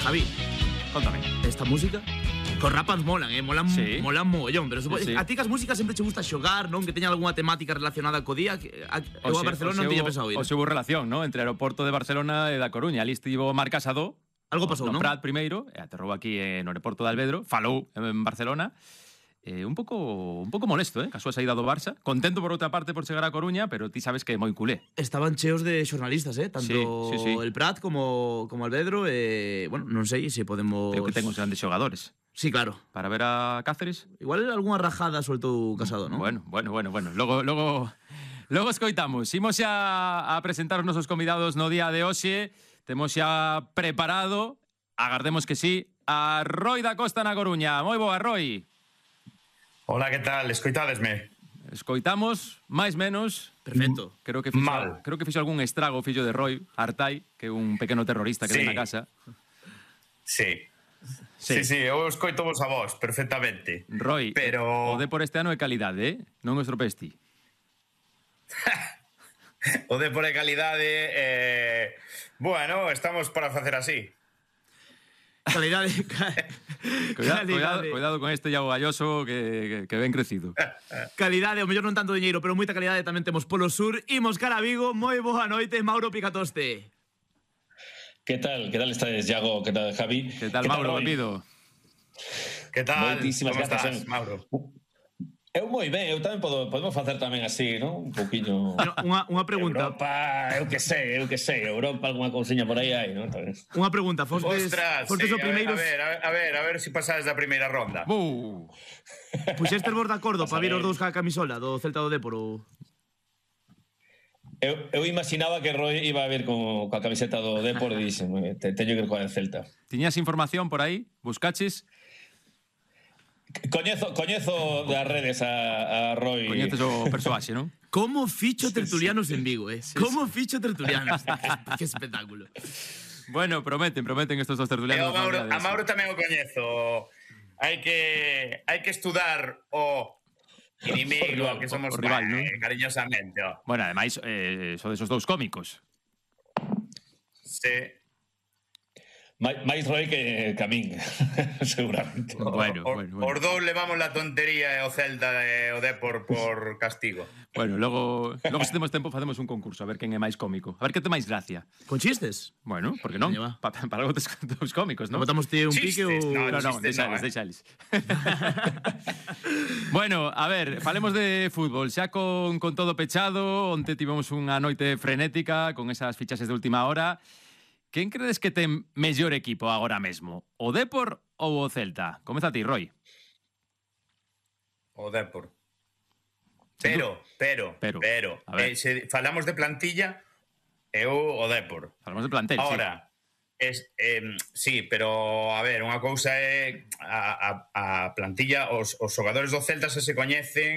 Javi, Contame. esta música cos rapas molan, molan, Sí. molan mogollón, pero Sí. a ti que as músicas sempre che gusta xogar, non? Que teña algunha temática relacionada co día, eu a Barcelona non tiña pensado ir. O se hubo relación, ¿no? Entre o aeroporto de Barcelona e da Coruña. Ali estivo Marc Casado, Algo pasou, no non? Prat primeiro, e aterrou aquí no aeroporto de Alvedro, falou en Barcelona. Un pouco molesto, ca súa saída do Barça. Contento por outra parte por chegar a Coruña, pero ti sabes que é moi culé. Estaban cheos de xornalistas, tanto Sí. el Prat como Alvedro, bueno, non sei se podemos... Creo que ten uns grandes xogadores. Sí, claro. Para ver a Cáceres. Igual algunha rajada soltou Casado, non? Bueno. Logo escoitamos. Imos xa a presentar os nosos convidados no día de hoxe. Temos xa preparado, agardemos que sí, a Roi da Costa na Coruña. Moi boa, Roi. Hola, que tal? Escoitádesme? Escoitamos, máis menos. Perfecto. Creo que Mal. fixo algún estrago o fillo de Roi, Artai, que é un pequeno terrorista que Sí. ven na casa. Sí. Sí, eu escoito vos a vos, perfectamente. Roi, Pero o de por este ano é calidade, non o estropesti. o de por calidade, bueno, estamos para facer así. Calidade... Cuidado con este Iago Galloso que ven crecido. Calidade, o mellor non tanto diñeiro, pero moita calidade tamén temos polo sur. Imos cara a Vigo, moi boa noite, Mauro Picatoste. Que tal estades, Iago? Que tal, Javi? Que tal, Mauro? Roi? Benvido. Que tal? Moitísimas Como grazas, estás, Mauro? Eu moi ben, eu tamén podemos facer tamén así, non? Un pouquiño... Unha pregunta. Europa, eu que sei, Europa algunha cousiña por aí hai, non? Unha pregunta, fostes Ostras, sí, sí, o primeiros... a ver se pasades da primeira ronda. Puxestes vos de acordo para vir os dous ca camisola do Celta do Dépor ou... Eu imaginaba que Roy iba a vir coa camiseta do Depor e dixen, teño que ir coa del Celta. Tiñas información por aí? Buscaches? Coñezo das redes a Roy. Coñeces o persoaxe, non? Como ficho tertulianos en Vigo, Como ficho tertulianos. Que espectáculo. Bueno, prometen estos dos tertulianos. A Mauro tamén o coñezo. Hai que estudar o inimigo que somos o rival, ¿no? Cariñosamente. Bueno, ademais, son desos dous cómicos. Sí. máis Roy que a min, seguramente. Bueno. Os dous levamos la tontería e o Celta e o Depor por castigo. Bueno, logo se temos tempo facemos un concurso a ver quen é máis cómico. A ver que te máis gracia. Con chistes? Bueno, por que non? Veña, va. Para algo tes dous cómicos, non? Botamos ti un pique ou... No, deixales. Bueno, a ver, falemos de fútbol. Xa con todo pechado, onte tivemos unha noite frenética con esas fichaxes de última hora. Quen credes que ten mellor equipo agora mesmo? O Depor ou o Celta? Comeza ti, Roi. O Depor. Pero, a ver. se falamos de plantilla, eu o Depor. Falamos de plantel, Ahora, sí, pero a ver, unha cousa é a plantilla, os xogadores do Celta se coñecen